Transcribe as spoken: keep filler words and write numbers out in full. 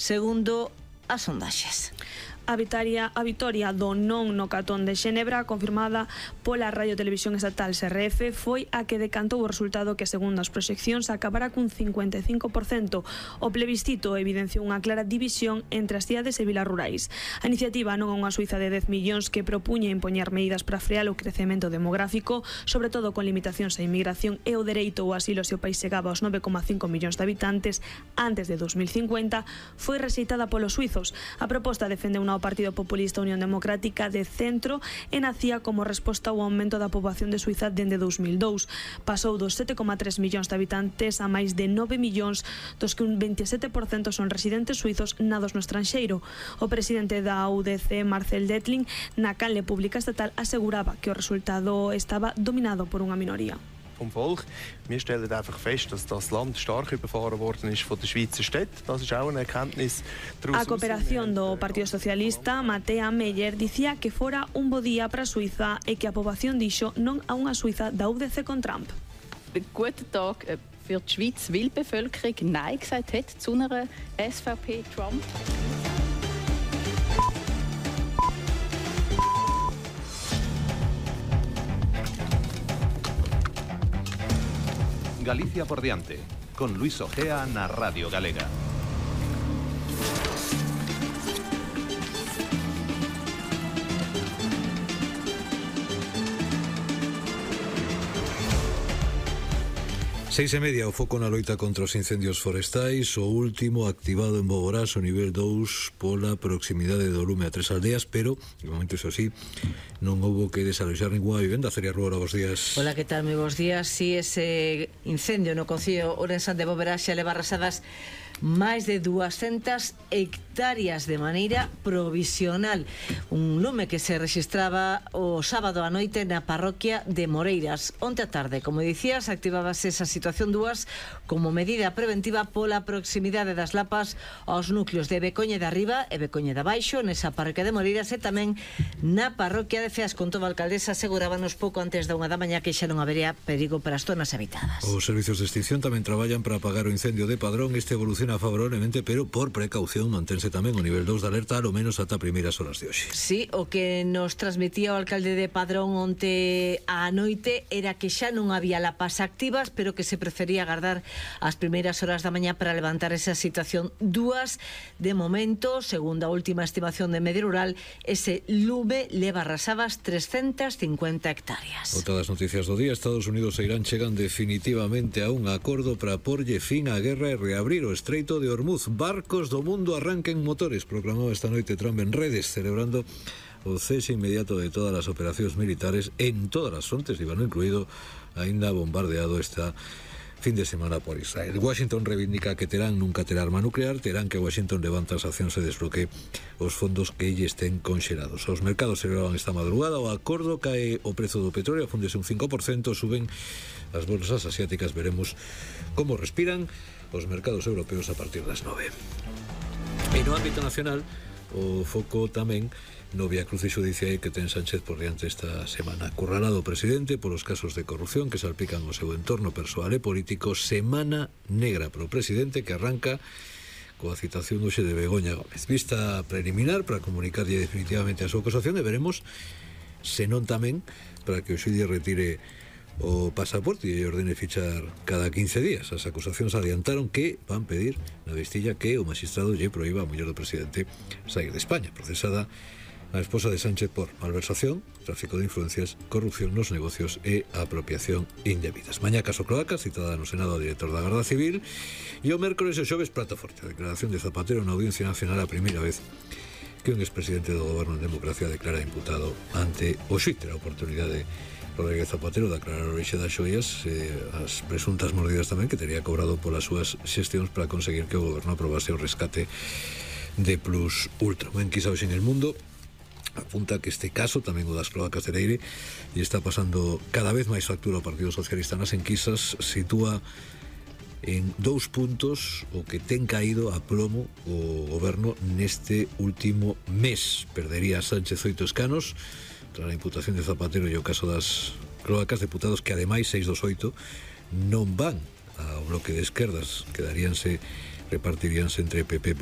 segundo as sondaxes. A vitoria, a vitoria do non no Catón de Xenebra, confirmada pola Radio Televisión Estatal S R F, foi a que decantou o resultado que, segundo as proxeccións, acabará cun cincuenta e cinco por cento. O plebiscito evidenciou unha clara división entre as cidades e vilas rurais. A iniciativa non é unha Suiza de dez millóns que propuña impoñer medidas para frear o crecemento demográfico, sobre todo con limitacións á inmigración e o dereito ao asilo se o país chegaba aos nove coma cinco millóns de habitantes antes de dos mil cincuenta, foi rexeitada polos suizos. A proposta defende unha o Partido Populista Unión Democrática de centro e nacía como resposta ao aumento da poboación de Suiza dende dos mil dous. Pasou dos sete coma tres millóns de habitantes a máis de nove millóns, dos que un veintisiete por cento son residentes suizos nados no estranxeiro. O presidente da U D C, Marcel Dettling, na canle pública estatal aseguraba que o resultado estaba dominado por unha minoría. Vom Volk. Wir stellen einfach fest, dass das Land stark überfahren worden ist von den Schweizer Städten. Das ist auch eine Erkenntnis. A cooperación do Partido Socialista, Mattea Meyer, dicía que fora un bo día para a Suiza e que a poboación dixo non a unha Suiza da U D C con Trump. Guten Tag für die Schweiz, weil die Bevölkerung Nein gesagt hat zu einer S V P-Trump. Galicia por diante, con Luis Ojea na Radio Galega. Seis e media, o foco na loita contra os incendios forestais, o último activado en Boborás, o nivel dous, pola proximidade do lume a tres aldeas, pero, de momento, iso sí, non houbo que desaloxar ninguna vivenda. Celia Rubora, bons días. Hola, que tal? Moi bons días. Si ese incendio no concello ourensán de Boborás xa leva arrasadas máis de duascentas hectáreas de maneira provisional. Un lume que se registraba o sábado a noite na parroquia de Moreiras. Onte a tarde, como dicías, activábase esa situación dúas como medida preventiva pola proximidade das lapas aos núcleos de Becoña de Arriba e Becoña de Abaixo, nesa parroquia de Moreiras, e tamén na parroquia de Ceas. Contou a alcaldesa, asegurábanos pouco antes da unha da mañá que xa non habería perigo para as zonas habitadas. Os servizos de extinción tamén traballan para apagar o incendio de Padrón. Este evoluciona favorablemente, pero por precaución mantense tamén o nivel dous de alerta, ao menos ata primeiras horas de hoxe. Sí, o que nos transmitía o alcalde de Padrón onte á noite era que xa non había lapas activas, pero que se prefería agardar as primeiras horas da mañá para levantar esa situación dúas. De momento, segundo a última estimación de Medio Rural, ese lume leva arrasadas trescentas cincuenta hectáreas. Outra das noticias do día: Estados Unidos e Irán chegan definitivamente a un acordo para porlle fin á guerra e reabrir o Estreito de Hormuz. Barcos do mundo arranquen motores, proclamou esta noite Trump en redes, celebrando o cese inmediato de todas as operacións militares en todas as frontes, Líbano incluído, aínda bombardeado esta fin de semana por Israel. Washington reivindica que Terán nunca terá arma nuclear. Terán que Washington levanta as accións e desbloquee os fondos que lle estén conxelados. Os mercados celebraban esta madrugada o acordo, cae o prezo do petróleo, afúndese un cinco por cento, suben as bolsas asiáticas. Veremos como respiran os mercados europeos a partir das nove. E no ámbito nacional, o foco tamén no viacrucis xudicial que ten Sánchez por diante esta semana. Acurralado o presidente polos casos de corrupción que salpican o seu entorno persoal e político. Semana negra para o presidente, que arranca coa citación hoxe de Begoña Gómez. Vista preliminar para comunicarlle definitivamente a súa acusación, e veremos se non tamén para que o xudice retire o pasaporte e ordene fichar cada quince días. As acusacións adiantaron que van pedir na vestilla que o magistrado lle proíba a muller do presidente sair de España. Procesada a esposa de Sánchez por malversación, tráfico de influencias, corrupción nos negocios e apropiación indebidas. Mañá caso Cloaca, citada no Senado ao director da Garda Civil, e o mércoles o xoves prato forte. A declaración de Zapatero na Audiencia Nacional, a primeira vez que un expresidente do goberno en democracia declara imputado ante o xuíz. Terá a oportunidade Rodríguez Zapatero de aclarar a orixe das xoias, eh, as presuntas mordidas tamén que tería cobrado polas súas xestións para conseguir que o goberno aprobase o rescate de Plus Ultra. En Quizá hoxe en el mundo apunta que este caso, tamén o das cloacas de Leire, e está pasando cada vez máis factura ao Partido Socialista nas enquisas, sitúa en dous puntos o que ten caído a plomo o goberno neste último mes. Perdería Sánchez oito escanos tras a imputación de Zapatero e o caso das cloacas, deputados que ademais seis dos oito non van ao bloque de esquerdas, quedaríanse repartiríanse entre P P, Vox